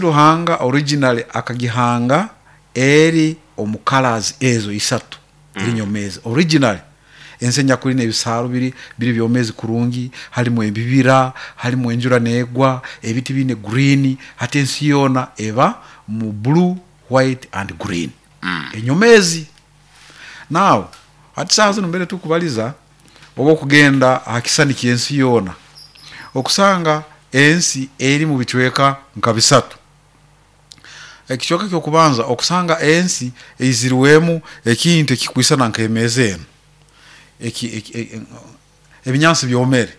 Ruhanga originally akagihanga eri omu colours ezo isatu, eri nyomeezi. Originally ensi enyakuli n'ebisaaru biri biri byomeezi kurungi, harimu ebibira, harimu enjura neegwa, ebiti biine green, hati ensi yoona eba mu blue, white and green. Enyomeezi. Now hati saaha zinu mbere tukubaliza, obu okugenda aha kisisani ky'ensi yoona, okusanga ensi eri mu bicweka nka bisatu. Ekicweka ky'okubanza okusanga ensi eizirwemu ekintu ekikwisana nk'emeeza enu, ebinyansi byomere,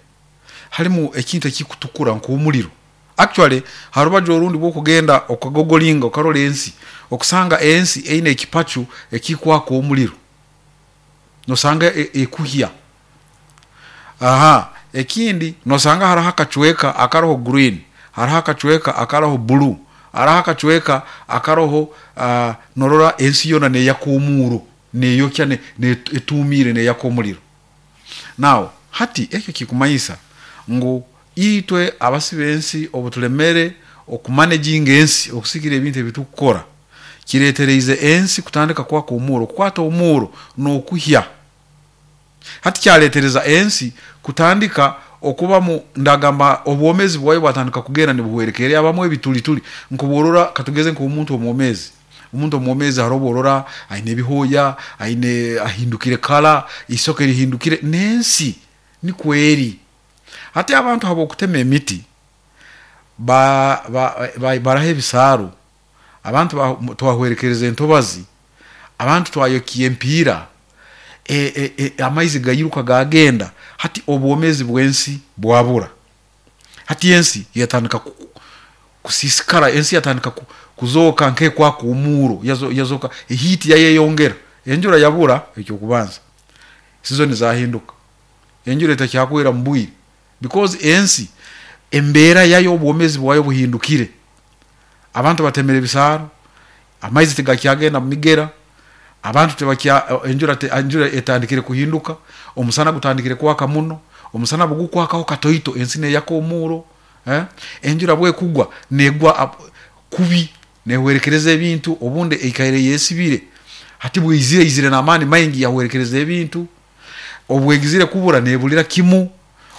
harimu ekintu ekikutukura nk'omuliro. Actually ha rubaju orundi bwokugenda okagogolinga okarora ensi, okusanga ensi eine ekipacu ekikwaka omuliro. Nosanga ekuhya. Aha ekindi nosanga haroho akacweka akaroho green, haroho akacweka akaroho blue, haroho akacweka akaroho norora ensi yoona neyaka omuuro, neyokya etuumiire neyaka omuliro. Now hati ekyo kikumanyisa ngu itwe abasi b'ensi obu tulemere okumanaginga ensi okusigira ebintu ebi tukukora, kireetereize ensi kutandika kwaka omuuro, kukwata omuuro n'okuhya. Hati kyareetereza ensi kutandika okubamu, ndagamba obwomeezi bwayo bwatandika kugenda nibuhwerekerra, yabamu ebiturituri. Nk'obworora katugeze nk'omuntu omwomeezi, omuntu omwomeezi haroho obu orora aine ebihooya, aine ahindukire kala, isoke rihindukire, n'ensi nikwo eri. Hati abantu habw'okutema emiti, baraho ebisaaru, abantu twahwerekereza entobazi, abantu twayokya empiira, amaizi gairuka gagenda, hati obwomeezi bw'ensi bwabura. Hati ensi yatandika kusiisikara, ensi yatandika kuzooka nk'ekwaka omuuro, yazooka ehiiti yayeyongera, enjura yabura eky'okubanza, sizoni zahinduka, enjura etakyagwera mu bwire because ensi embeera yayo obwomeezi bwayo buhindukire. Abantu batemere ebisaaro, amaizi tigakyagenda mu migera, abantu tibakya enjura enjura etandikire kuhinduka, omusana gutandikire kwaka muno, omusana bugukwakaho katoito ensi neyaka omuuro, enjura bwekugwa negwa kubi nehwerekereza ebintu, obundi eikaire eyesibire, hati bweizire eizire n'amaani maingi yahwerekereza ebintu, obwegizire kubura nebulira kimu,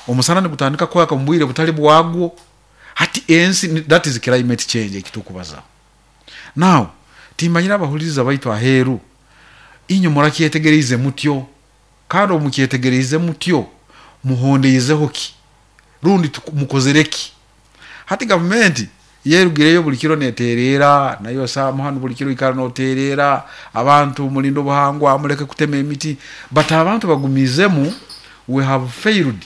omusana nigutandika kwaka omu bwire butali bwagwo. Hati ensi, that is climate change eki tukubazaho. Now, timmanyire abahuliriza baitu aheeru, inywe murakyetegereize mutyo? Kandi obu mukyetegereize mutyo, muhondeizeho ki? Rundi mukozere ki? Hati gavumenti yerugireyo buli kiro netereera, naiwe Sam hanu buli kiro oikara notereera abantu mulinde obuhangwa, muleke kutema emiti, but abantu bagumiizemu, we have failed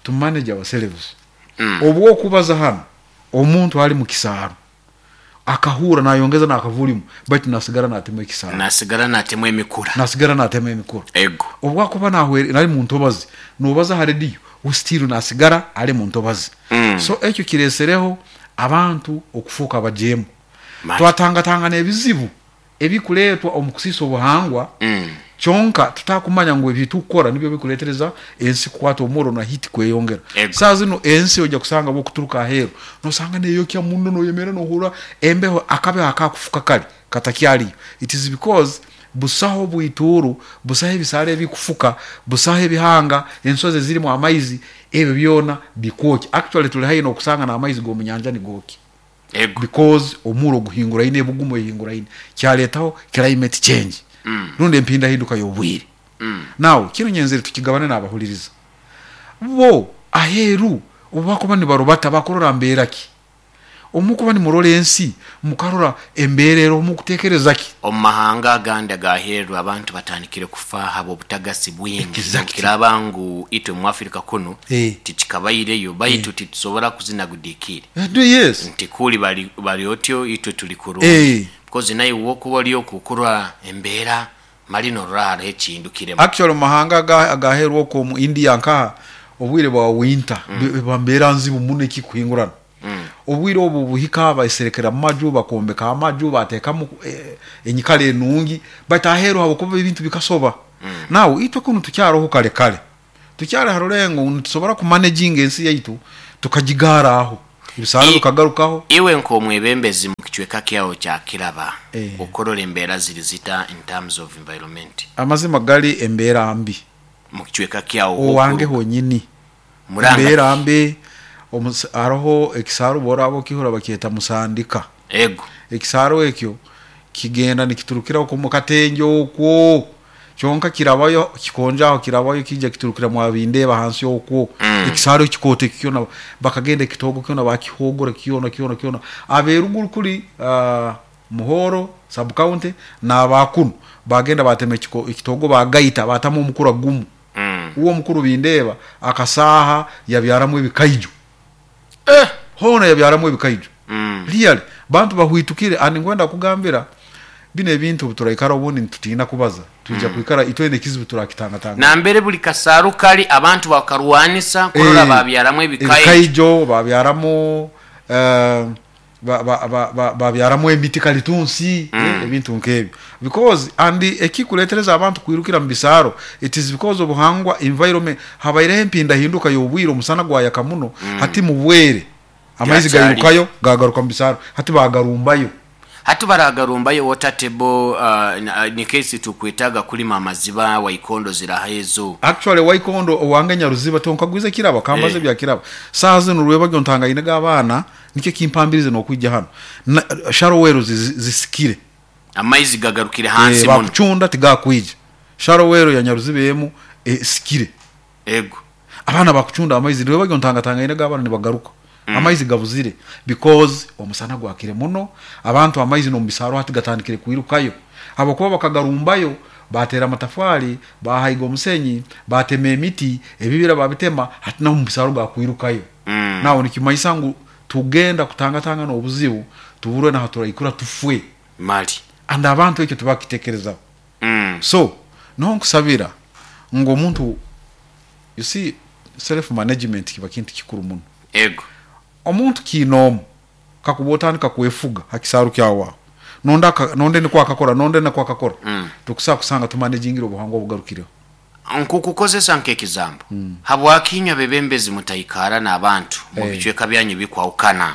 to manage ourselves. Obwokubaza hanu, omuntu ali mu kisaaru akahurra nayongeza n'akavulimu baitu nasigara natema ekisaaru. Nasigara natema emikura. Nasigara natema emikura. Ego. Obwakuba nahwe ali mu ntobazi, nobaza ha rediyo, we still nasigara ali mu ntobazi. So ekyo kiresereho abantu okufuuka abajeemu. Mali. Twatangatangana ebizibu ebikuleetwa omu kusiisa obuhangwa, kyonka tutakumanya ngu ebitukukora nibyo bikuleetereza ensi kukwata omurro na heat kweyongera. Ego. Saaha zinu ensi oija kusanga bwokuturuka aheeru nosanga neyokya muno noyemerra nohurra embeho akabeho akakufuka kari katakyariyo. It is because busaho bwituuru, busaho ebisaara ebikufuka, busaho ebihanga, ensozi ezirimu amaizi, ebyo byona bikwokya. Actually tuli haihi nokusanga n'amaizi g'omunyanja nigookya. Ego. Because omuuro guhinguraine, ebugumu ehinguraine, kyaleetaho climate change rundi empindahinduka y'obwire. Now kinu nyenzere tukigabane n'abahuliriza. Bo aheeru obu bakuba nibarubata bakurora mbeera ki? Obu mukuba nimurora ensi mukarora embeera eroho mukutekereza ki? Omu mahanga agandi ag'aheeru abantu batandikire kufa habw'obutagasi bwingi. Exactly. Nobukiraaba ngu itwe mu Africa kunu tikikabaireyo, baitu titusobora kuzina gudikiire. Yes. Nti kuli bali bali otyo itwe tuli kurungi. Because naiwe wokuba oli okwo okurora embeera mali norora haroho ekihindukiremu. Actually omu mahanga agaheeru okwo omu India nkaha, obwire bwa winter eba mbeera nzibu muno ekikuhingurana. Obwire obu buhika baserekera mu maju, bakombeka amaju, bateekamu enyikara enungi, baitu aheeru habwokuba ebintu bikasoba. Now itwe kunu tukyaroho kare kare, tukyali ha rulengo ngu nitusobora kumanaginga ensi yaitu tukagigaara aho. Ebisaaru bikagarukaho. Iwe nk'omwebembezi mu kicweka kyawe kya Kiraba, Eh. okurora embeera ziri zita in terms of environment? Amazima gali embeera mbi. Mu kicweka kyawe Owange h'okuruga. honyini. Muranga Embeera ki? mbi, haroho ekisaaru obu oraaba okihurra bakyeta Musandika. Ego. Ekisaaru ekyo kigenda nikiturukira okwo omu Katenje okwo, kyonka kirabayo kikonjo aho kirabayo kiija kiturukira mwa Bindeeba hansi okwo. Ekisaaru ekikooto eki kyona bakagenda ekitoogo kyona bakihoogora kyona kyona kyona. Ab'eruguru kuri Muhoro sub county n'aba kunu baagenda baatema ekitoogo baagaita baatamu omukura gumu. Uwe omukuru Bindeeba akasaaha yabyaramu ebikaijo. Hoona yabyaramu ebikaijo. Really, bantu bahwitukire and nkwenda kukugambira binu ebintu obu turaikara obundi nitutiina kubaza, twija kwikara itwena ekizibu turakitangatangana. Nambere buli kasaaru kali abantu bakarwanisa kurora babyaramu ebikaijo. Ebikaijo, babyaramu babyaramu emiti kalitunsi, ebintu nk'ebyo. Because and ekikuretereza abantu kwirukira mu bisaaro it is because obuhangwa, environment, habaireho empindahinduka y'obwire omusana gwayaka muno, hati mu bwere amaizi gairukayo gagaruka mu bisaaro, hati bagarumbayo. Hati baragarumbayo water table ni case tukwetaaga kulima amaziba waikondo ziraha ezo. Actually waikondo owange Nyaruziba tonkagwize kiraba kambaze ebya kiraba saaha zinu rwebagyo ntangainege abaana nikyo ekimpambirize nokwija hanu na shallow wells zisikire. Amaizi gagarukire hansi muno. Bakucunda tigakwija shallow well ya Nyaruziba emu esikire. Ego. Abaana bakucunda amaizi rwebagyo ntangatangainege abaana nibagaruka amaizi gabuzire because omusana gwakire muno abantu amaizi nomu bisaaro hati gatandikire kwirukayo habwokuba bakagarumbayo bateera amatafari bahaiga omusenyi batema emiti ebibira babitema hati naho omu bisaaro gakwirukayo now nikimanyisa ngu tugenda kutangatangana obuzibu tuburwe naha turaikura tufwe. Mali. And abantu ekyo tibakitekerezaho. So niho nkusabira ngu omuntu you see self management kiba kintu kikuru muno. Ego. Omuntu kiinoomu kakuba otandika kwefuga ha kisaaru kyawe aho nonde aka nonde nikwo akakora nonde nakwo akakora tokusobora kusanga tumanejingire obuhangwa obugarukireho. Nkukukozesa nk'ekizambo, habwaki inywe abebembezi mutaikara n'abantu mu bicweka byanyu ebikwahukana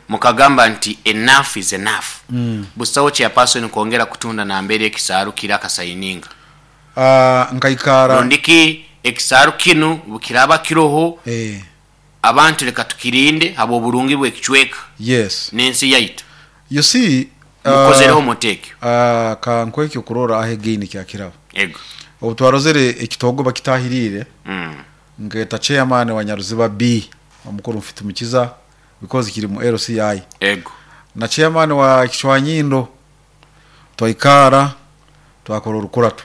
mukagamba nti enough is enough, busaho chairperson kwongera kutunda nambere ekisaaru kiri akasayininga? Nkaikara. Rundiki ekisaaru kinu bukiraaba kiroho, abantu leka tukirinde habw'oburungi bw'ekicweka n'ensi yaitu. You see, Mukozereho muta ekyo? Ka nkuhe ekyokurorraho again kya Kiraba. Ego. Obu twarozere ekitoogo bakitahiriire, nkeeta chairman wa Nyaruziba B, omukuru Mfitumukiza because kiri mu LCI. Ego. Na chairman wa Kicwanyindo twaikara twakora orukurato.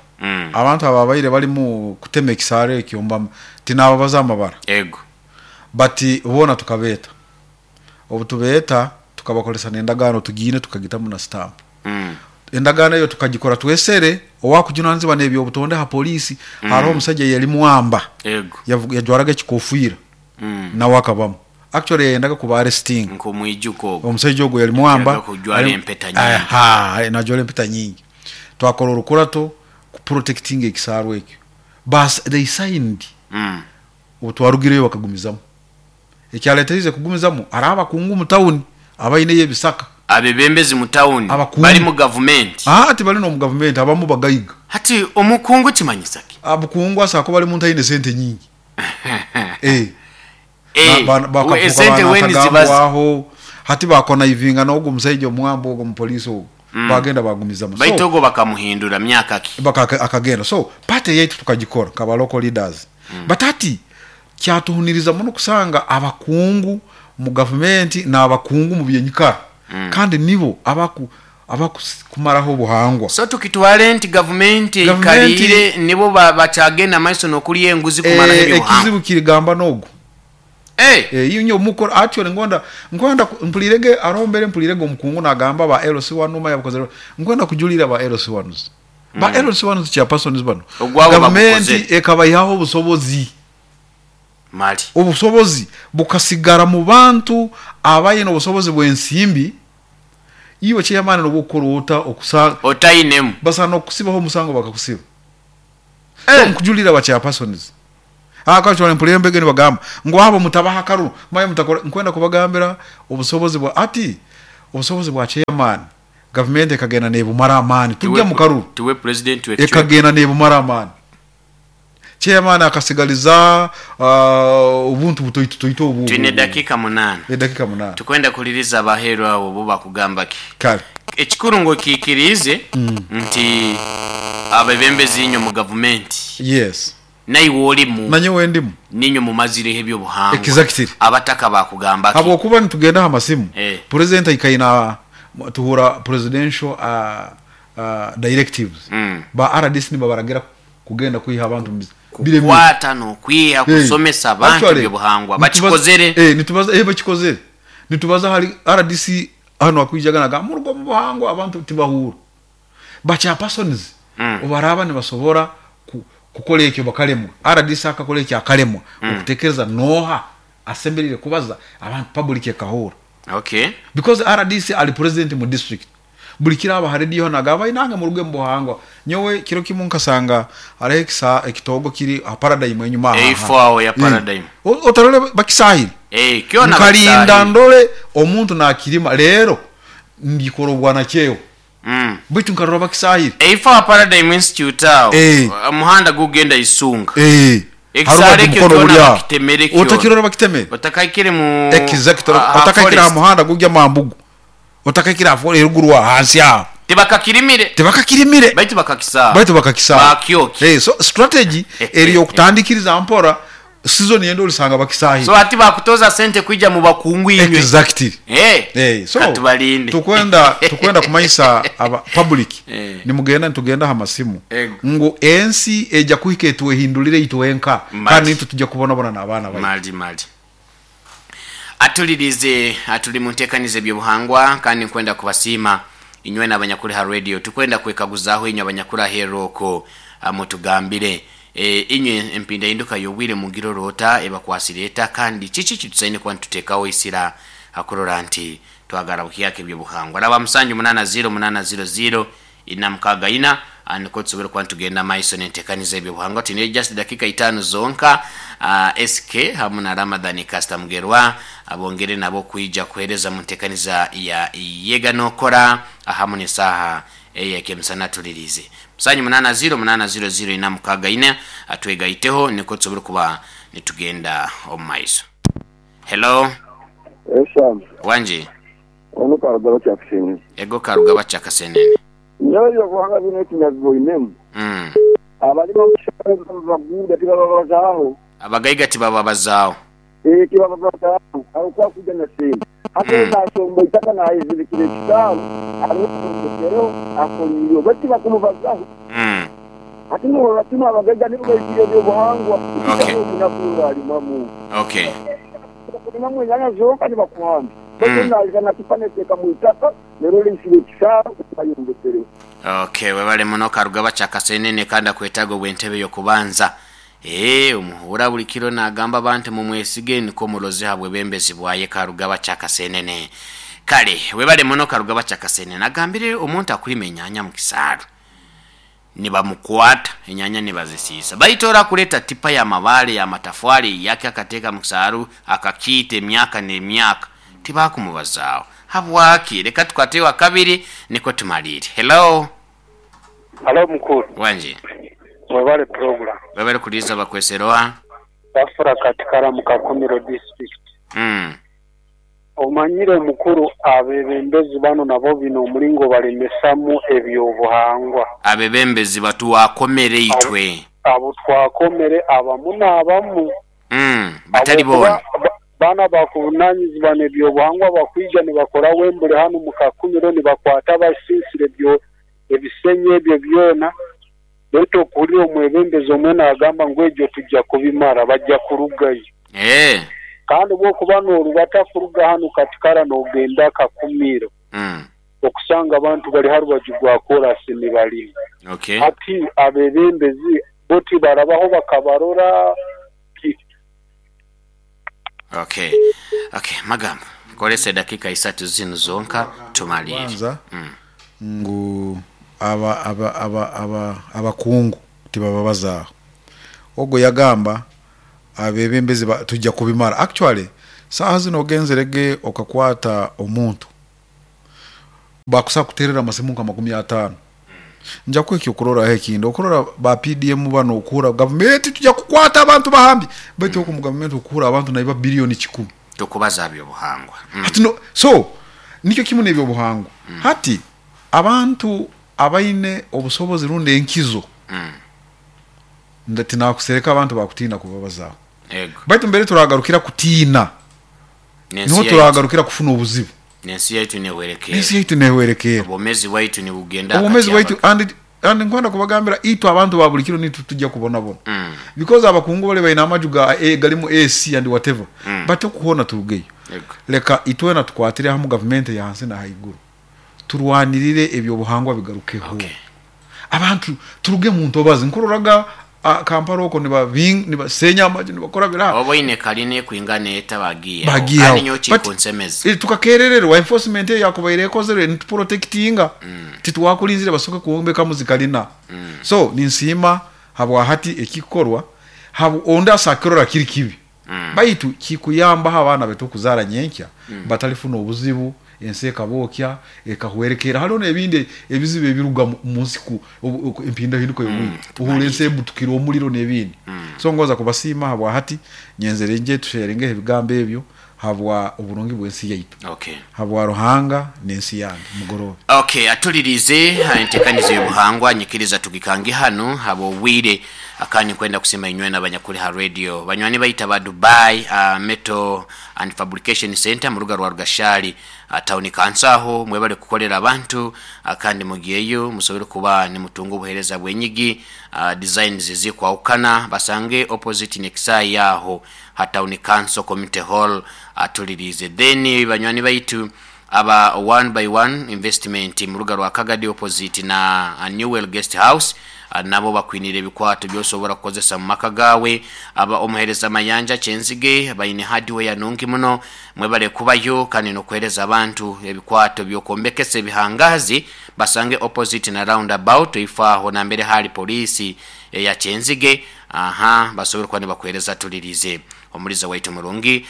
Abantu ababaire barimu kutema ekisaaru ekyo mba tinababaza amabara. Ego. But boona tukabeeta. Obu tubeeta tukabakoresa n'endagaano tugiine tukagitamu na stamp. Endagaano eyo tukagikora twesere owakujunanizibwa n'ebyobutonde ha poliisi haroho omusaija yali Mwamba. Ego. Yajwaraga ekikofiira nawe akabamu. Actually yayendaga kuba arresting. Nk'omwijuka ogwo. Omusaija ogwo yali Mwamba. Yaga kujwara empeta nyingi. Aha, najwara empeta nyingi. Twakora orukurato ku protectinga ekisaaru ekyo. Bas they signed. Obu twarugireyo bakagumizamu. Ekyaleteriize kugumizamu hariho abakungu omu tawuni abaineyo ebisaka. Abebembezi mu tawuni Abakungu. bari mu gavumenti. Aa tibari n'omu gavumenti abamu bagaiga. Hati omukungu kimanyisa ki? Obukungu asobola kuba ari muntu aine sente nyingi. Bakafuuka Esente weni ziba banatagambwaho. Hati bakonaivinga n'ogu omusaija omwamba ogu omupoliisi ogu bagenda bagumizamu. Baitu So ogwo bakamuhindura myaka ki? Akagenda. So party yaitu tukagikora nk'aba local leaders. But hati kyatuhuniriza muno kusanga abakungu mu gavumenti n'abakungu mu byenyikara kandi nibo abakumaraho obuhangwa. So tukitwale nti gavumenti Gavumenti eikariire nibo bakyagenda maiso n'okulya enguzi kumaraho ebyobuhangwa. Ekizibu kirigamba n'ogu. Inyo mukora actually ngonda nkwenda mpulirege arombere mpulirege omukungu nagamba ba LC1 numa yabukozere nkwenda kujulira ba LC1s. Ba LC1s chairpersons bano. Ogwabo Gavumenti bagukoze. ekabayihaho obusobozi. Mali. Obusobozi bukasigara mu bantu abayine obusobozi bw'ensimbi. Iwe chairman nobukora ota okusa Otainemu. Basana okusibaho omusango bakakusiba. So nkujulira ba chairpersons. Actually mpulira embege nibagamba ngu abo mutabaha akaruru, manya mutakora. Nkwenda kubagambira obusobozi bwa ati obusobozi bwa chairman gavumenti ekagenda nebumara amaani tujja mu karuru. Tiwe president w'ekicweka. Ekagenda nebumara amaani. Chairman akasigaliza obuntu butoito toito obu. Twine edakika munaana. Edakika munaana. Tukwenda kuhuliriza abaheeru abo bo bakugamba ki. Kale. Ekikuru ngu okiikiriize nti abebembezi inywe mu gavumenti. Yes. Naiwe olimu. Nanyowe ndimu. Niinywe mumazireho eby'obuhangwa. Exactly. Abataka bakugamba ki? Habwokuba nitugenda ha masimu, Eh. President aikaire na tuhurra presidential directives. Ba rdc nibabaragira kugenda kwiha abantu mu biremire. Kukwata n'okwiha, Eh. kusomesa abantu Actually, eby'obuhangwa. nitubaza Bakikozere. eh, nitubaza eh, bakikozere. Nitubaza hali rdc hanu akwijaga nagamba muruge omu buhangwa abantu tibahurra. Ba chairpersons obu baraaba nibasobora kukora ekyo bakalemwa. Rdc akakora ekyo akalemwa. Okutekereza nooha asemeriire kubaza abantu public ekahurra. Okay. Because rdc ali president mu district. Buli kiro aba ha radio nagamba inange muruge mu buhangwa. Nyowe kiro kimu nkasanga hariho ekitoogo kiri ha Paradigm enyuma aha. Eifo aho ya Paradigm. Otarole bakisahire. Eh, kyona Nkalinda bakisahire. ndole omuntu nakirima rero ndikora obwanakyewa. Baitu nkarora bakisahire. Eifo ha Paradigm Institute aho. Eh. Omuhanda gugenda Isunga. Eh. Ekisare Haruba ekyo mukono kyona buli aho. bakitemere kyona. Otakirora bakitemere. Otakaikire mu Exactly. ha Otakaikire aha forest. muhanda gujya Mambugu. Otakaikire aha forest eruguru aha hansi aho. Tibakakirimire. Tibakakirimire. Baitu bakakisaawa. Baitu bakakisaawa. Bakyoki. Eh, so strategy eri yokutandikiriza mpora season yendo olisanga bakisahire. So hati bakutoza sente kwija mu bakungu inywe. Exactly. Eh. Eh, so Katubalinde. tukwenda kumanyisa aba public. Eh. Nimugenda nitugenda ha masimu. Ego. Ngu ensi eja kuhika etwehindulire itwenka. Mali. Kandi nitwe tujja kubonabona n'abaana baitu. Mali mali. Atulirize atuli mu nteekaniza eby'obuhangwa kandi nkwenda kubasiima inywe n'abanyakuli ha radio. Tukwenda kwekaguzaho inywe abanyakuli aheeru okwo mutugambire. Inywe empindahinduka y'obwire mugirora ota ebakwasire eta kandi kiki kitusaine kuba nituteekaho isira akurora nti twagara buhyaka eby'obuhangwa. Raba musanju munana ziro munana ziro ziro ina mukaga ina niko tusobora kuba nitugenda maiso n'enteekaniza eby'obuhangwa. Twine just dakika itaano zonka. SK hamu na Ramadhani Kasta Mugerwa abongere nabo kwija kuhereza mu nteekaniza ya yega nokora hamu n'esaaha ey'ekemisana tulirize. Musanju munana ziro munana ziro ziro ina mukaga ina atwegaiteho niko tusobora kuba nitugenda omu maiso. Hello. Esham. Wanji. Ono Karugaba Kyakasenene. Ego Karugaba Kyakasenene. Nyowe ebyobuhangwa binu ekinyabiboinemu. Abalima omu baguuda tibababazaaho. Abagaiga tibababazaaho. Eh, tibababazaaho. Aho kuja na sente. Hati nasomba itaka nayezirikira ekisaaru, arokereho akoliirwe baitu tibakumubazaho. Hati norora kinu abagaiga nibo baikire ebyobuhangwa. Okay. Omunaku alimamu. Okay. Kulimamu enyanya zonka nibakuhamba. Baitu naiza nakipa neteeka mu itaka nerora eisire ekisaaru bayombekereho. Okay, webale muno Karugaba Kyakasenene kandi akwetaaga obw'entebe y'okubanza. Omuhura buli kiro nagamba abantu mumwesige niko muroze habwe bembezi bwaye Karugaba Kyakasenene. Kale, webale muno Karugaba Kyakasenene. Agambire omuntu akulima enyanya mu kisaaru. Nibamukwata enyanya nibazisiisa. Baitu ora kuleta tipa ya mabale ya matafwali yake akateeka mu kisaaru akakiita emyaka n'emyaka. Tibakumubazaaho. Habwaki? Leka tukwate wa kabiri niko tumalire. Hello. Halo mukuru. Wanje. Webale program. Webale kuliza bakweseroa. Bafura katikara mu Kakumiro district. Omanyire mukuru abebembezi bano nabo bino omulingo balemesamu ebyobuhangwa. Abebembezi batuwakomere itwe. Abo twakomere abamu n'abamu. Batali Abo bona. Bana bakuvunanyizibwa n'ebyobuhangwa bakwija nibakora wembule hanu mu Kakumiro nibakwata basinsire ebisenyi ebyo byona. Baitu okuhurira omwebembezi omwe nagamba ngu egyo tujja kubimara bajja kurugayo. Kandi bwokuba norubata kuruga hanu Katikara nogenda Kakumiro. Okusanga abantu bali harubaju rwa korasi nibalima. Okay. Hati abebembezi bo tibarabaho bakabarora. Okay. Okay, magamba. Kolesa dakika isatu zinu zonka tumalire. Kwanza ngu abakungu tibababazaaho. Ogwo yagamba Abebembezi tujja kubimara. Actually saaha zinu ogenzerege okakwata omuntu bakusa kuterera amasimu nka 50. Nja kuha ekyokuroraho ekindi, okurora ba PDM bano okuhura gavumenti tujja kukwata abantu bahambi, baitu oku mu gavumenti okuhura abantu naiba biliyoni 100. Tukubaza byobuhangwa. Hati no, so nikyo kimu n'ebyobuhangwa. Hati abantu abaine obusobozi rundi enkizo, tinakusereka abantu bakutiina kubabazaho. Baitu mbere turagarukira kutiina, niho turagarukira kufuna obuzibu. N'ensi yaitu nehwerekeera. N'ensi yaitu nehwerekeera. Obwomezi bwaitu nibugenda Obwomezi bwaitu and and nkwenda kubagambira itwe abantu ba buli kiro nitwe tujja kubonabona. Because abakungu bali baine amaju ga galimu AC and whatever. But okuhoona turugeyo. Leka itwena tukwatire hamu gavumenti eya hansi na haiguru turwanirire ebyobuhangwa bigarukeho. Abantu turuge mu ntobazi. Nkuroraga Kampala okwo nibasenya amaju nibakora biraha. Oba oine kalina ekwingana eta bagiihaho. Kandi nyowe kikunsemeza. Tukakerererwa enforcement eyo yakubaire ekozerwe nituprotectinga. Titwakulinzire basoke kwombekamu zikalina. So ninsiima habwahati ekikukorwa ondi asakirora kiri kibi. Baitu kikuyambaho abaana baitu okuzaara nyenkya batalifuna obuzibu, ensi ekabookya, ekahwerekerra. Hariho n'ebindi ebizibu ebiruga mu nsi empindahinduka y'obwire, ohuurra ensi ebutukire omuliro n'ebindi. So ngonza kubasiima habwa hati, nyenzere ngye tusheyaringeho ebigambo ebyo habwa oburungi bw'ensi yaitu, habwa Ruhanga n'ensi yange. Mugoroobe. Okay, atuliriize entekaniza ey'obuhangwa, nyikiriza tugikange hanu habw'obwire. Kandi nkwenda kusiima inywena abanyakuli ha radio, banywani baitu aba Dubai Metal and Fabrication Centre muruga rwa Rugashali Town Council aho mwebale kukolera abantu kandi mugyeyo musobole kuba nimutunga obuhereza bw'enyigi designs ezikwahukana basange opposite n'ekisaayi aho ha Town Council Community Hall atuliriize. Then banywani baitu aba One by One Investment muruga rwa Kagadi opposite na Newell Guest House nabo bakwinire ebikwato by'osobora kukozesa mu maka gaawe. Aba Omuhereza Mayanja Kyenzige baine hardware nungi muno. Mwebale kubayo kandi n'okuhereza abantu ebikwato by'okwombekesa ebihangaazi. Basange opposite na round about ifo aho nambere hali poliisi eya Kyenzige. Aha basobole kuba nibakuhereza tulirize. Omuliza waitu murungi.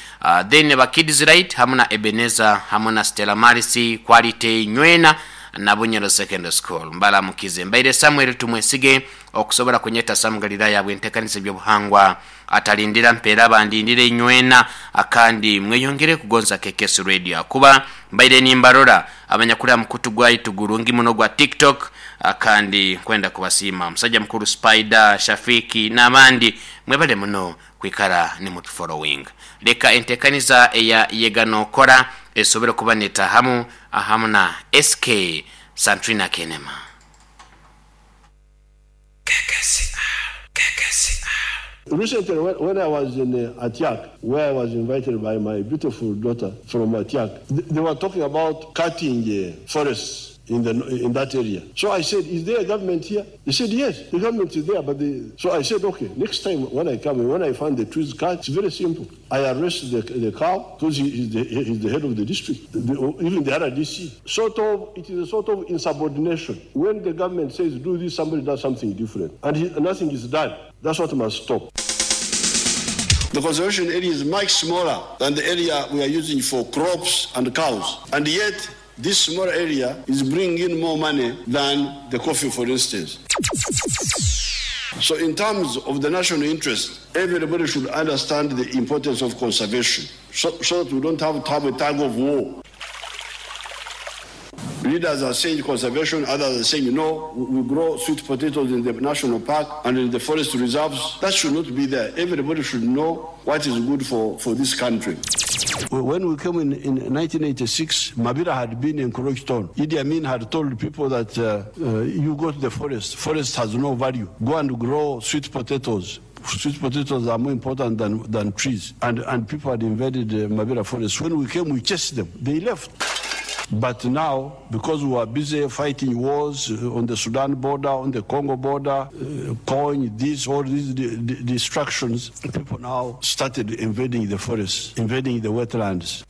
Then ba Kids Right hamu na Ebenezer hamu na Stella Maris Quality Nywena na Bunyoro Secondary School mbaramukize. Mbaire Samuel Tumwesige okusobora kunyeta Sam Galilaya habw'entekaniza eby'obuhangwa atalindira mpeera bandindire inywena akandi mweyongere kugonza KKS Radio akuba mbaire nimbarora abanyakuli aha mukutu gwaitu gurungi muno gwa TikTok akandi nkwenda kubasiima Musajja mukuru Spider, Shafiki n'abandi mwebale muno kwikara nimutufolowinga. Leka entekaniza eya Yega Nokora esobole kuba netahamu ahamu na SK Santrina Kenema. Recently when I was in Atiak where I was invited by my beautiful daughter from Atiak, they were talking about cutting forests in the in that area. So I said, is there a government here? They said, yes, the government is there. But they, so I said, okay, next time when I come, when I find the trees cut, it's very simple. I arrest the, the cow because he is the, he is the head of the district, the, even the RDC. Sort of, it is a sort of insubordination. When the government says do this, somebody does something different. And he, nothing is done. That's what must stop. The conservation area is much smaller than the area we are using for crops and cows. And yet, this small area is bringing in more money than the coffee, for instance. So in terms of the national interest, everybody should understand the importance of conservation so, so that we don't have to have a tug of war. Leaders are saying conservation, others are saying no, we grow sweet potatoes in the national park and in the forest reserves. That should not be there. Everybody should know what is good for, for this country. When we came in, in 1986, Mabira had been encroached on. Idi Amin had told people that you go to the forest, forest has no value. Go and grow sweet potatoes. Sweet potatoes are more important than, than trees. And, and people had invaded the Mabira forest. When we came, we chased them. They left. But now, because we are busy fighting wars on the Sudan border, on the Congo border, coin, this, all these destructions, people now started invading the forests, invading the wetlands.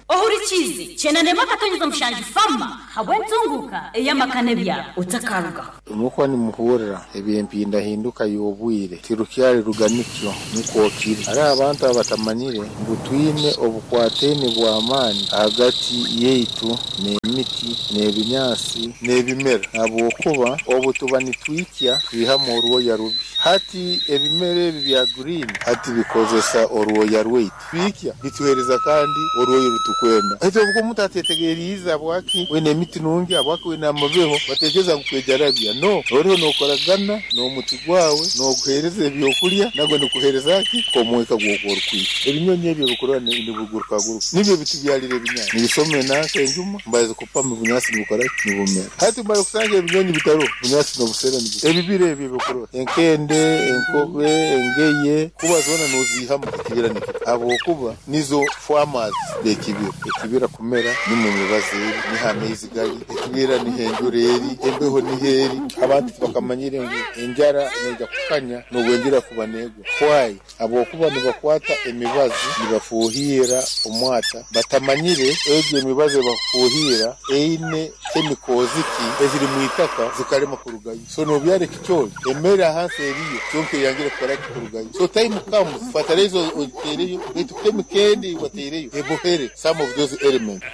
Ohurikiize, kyenda n'emwe akatonyeza mushanju Farmer habw'entunguuka ey'amaka n'ebyaro. Otakarugaho. Mukuba nimuhurra eby'empindahinduka y'obwire, tirukyali ruganikyo nukwo kiri. Haroho abantu abatamanyire ngu twine obukwataine bw'amaani hagati yaitu n'emiti, n'ebinyansi, n'ebimera habwokuba obu tuba nitwikya twihamu orwoya rubi. Hati ebimera ebi bya green hati bikozesa orwoya rwaitu. Twikya bituheereza kandi orwoya orutukwenda. Baitu obu omuntu atetegeriize habwaki wena emiti nungi, habwaki wena amabeho, batekereza ngu kwejarabya. No, oriho nokoragana n'omuti gwawe, noguheereza ebyokulya, nagwo nigukuheereza ki? Omwika gw'orukwikya. Ebinyonyi ebi ebikurora nibigurukaguruka nibyo bitubyalira ebinyansi. Nibisoma enanka enjuma, mbaza kupama obunyansi nibukora ki? Nibumera. Hati mara kusanga ebinyonyi bitaroho, obunyansi nobusera nibukura. Ebibira ebi ebikurora, enkende, enkobe, engeye, kuba zoona noziihamu ekibira nikikura habwokuba nizo farmers b'ekibira. Ekibira kumera nimwo emibazi eri, niho amaizi gali, ekibira niho enjura eri, embeho niho eri. Abantu tibakamanyire ngu enjara neija kukanya nobu enjura kuba negwa. Why? Habwokuba nibakwata emibazi nibafuuhiira omwata batamanyire egyo emibazi ebakufuuhiira eine chemicals ki eziri mwitaka zikalema kurugayo. So nobyara ekicoori, emere ahansi eriyo kyonka eyangire kukora ki? Kurugayo. So time comes fertilizer ogiteereyo baitu chemical endi eyiwateireyo ebohere some of those elements.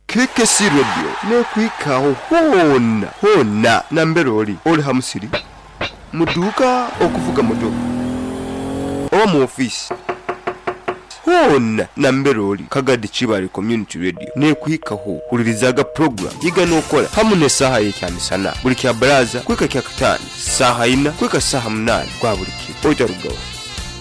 KKC Radio n'ekuhikaho hoona hoona nambere ori, ori ha musiri, mu duuka, okuvuga motoka oba mu ofiisi, hoona nambere ori, Kagadi Kibaale Community Radio n'ekuhikaho. Hulirizaaga pulogulaamu Yiga N'okora hamu n'esaaha y'ekyamisana buli Kyabaraaza kuhika Kyakataano saaha ina kuhika saaha munaana gwa buli kiro. Otarugaho.